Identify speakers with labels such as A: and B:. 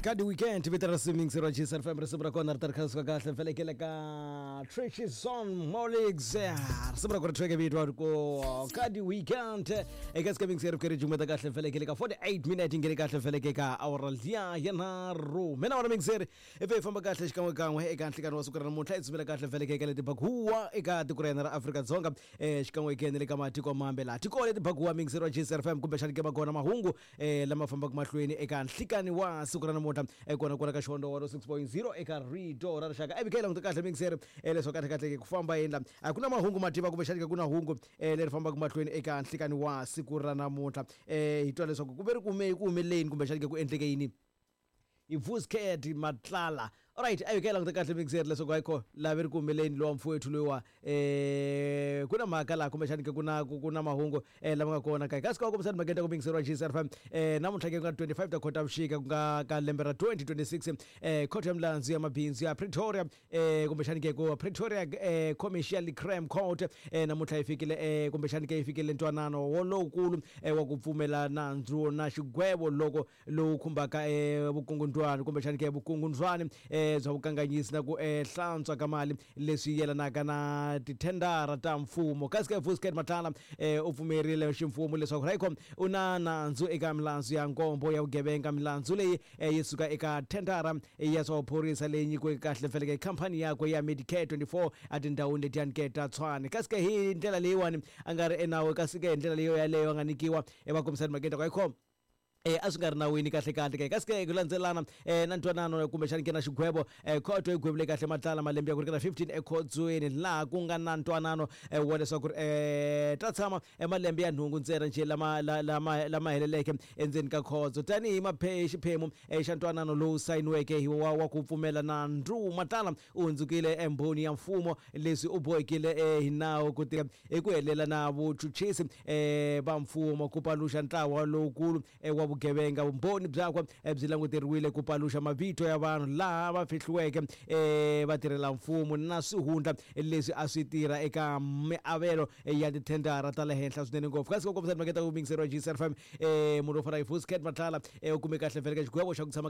A: Ka di weekend vito ra swimming ra Jisa FM, risimu ra kona ri ta ri kha suka kahle felekele ka Trishison Molix, risimu ra kona track vito ri ku ka di weekend eka swimming ri kere jumeta kahle felekele ka 48 minute ngene kahle feleke ka awara liya ya nharhu. Mina wona mixer ivi hi famba kahle xikan'we kan'we eka nhlikani wa siku ra namuntlha, hi tsumela kahle feleke eka leti bakuwa eka tiko ra hina ra Afrika-Dzonga, xikan'we ke na le ka matiko mambe laha tiko leti bakuwa mixer wa Jisa FM, kumbexani ke va kona mahungu lama fambaka mahlweni eka nhlikani wa siku ra namuntlha, kona kwala ka Xihondo 106.0 eka Rito ra Rixaka. Ivi ke languta kahle mixer leswaku kahle kahle ku famba yini la, a ku na mahungu mativa kumbexani ke ku na hungu leri fambaka mahlweni eka nhlikani wa siku ra namuntlha. Hi twa leswaku ku ve ri kume ku humeleni kumbexani ke ku endleke yini hi Vusked Matlala. Alright, ayo ke languta kahle mixer leswaku hayikho laha ve ri ku humeleni lowa mfowethu loyiwa, ku na mhaka laha kumbexani ke ku na mahungu lama nga kona ka kasi ka kombisani mhaka ta ku mixer wa GCR FM. Namuntlha ke ku nga 25 ta Khotavuxika ku nga ka lembe ra 2026, khoto ya milandzu ya mabindzu ya Pretoria, kumbexani ke ku Pretoria Commercial Crime Court, namuntlha yi fikile, kumbexani ke yi fikile ntwanano wolowukulu wa ku pfumela nandzu na xigwevo loko lowu khumbaka vukungundwani kumbexani ke vukungundwani bya vukanganyisi na ku hlantswa ka mali leswi yelanaka na tithendara ta mfumo. Kasi ke Vusket Matlala u pfumerile ximfumo leswaku Raycom u na nandzu eka milandzu ya nkombo ya vugevenga. Milandzu leyi yi suka eka thendara ya swa vuphorisa leyi nyikiweke kahle feleke khampani yakwe ya Medicare 24 etindhawini letiyani ke ta Tshwane. Kasi ke hi ndlela leyiwani a nga ri enawu, kasi ke hi ndlela leyo yaleyo a nga nyikiwa evakombisani mhakeni ta ku ayikho a swi nga ri nawini kahle kahle ke. Kasi ke ku landzelana na ntwanano kumbexani ke na xigwevo, khoto yi gwevile kahle Matlala malembe ya ku ringana 15 ekhotsweni, laha ku nga na ntwanano wa leswaku ri ta tshama malembe ya nhungu ntsena njhe lama lama lama heleleke endzeni ka khotso. Tanihi xiphemu xa ntwanano lowu sayiniweke hi wa ku pfumela nandzu, Matlala u hundzukile embhoni ya mfumo. Leswi u bohekile hi nawu ku tirha hi ku helela na vuchuchisi va mfumo ku paluxa ntlawa lowukulu wa vugevenga. Vumbhoni byakwe byi languteriwile ku paluxa mavito ya vanhu laha va fihliweke, vatirhela mfumo na swihundla leswi a swi tirha eka miavelo ya tithendara ta le henhla swinene ngopfu. Kasi ku kombisa timhaka ta ku yingiseriwa GCR FM, munhu wo fana hi Vusket Matlala u kume kahle vhele ka xigwevo xa ku tshama.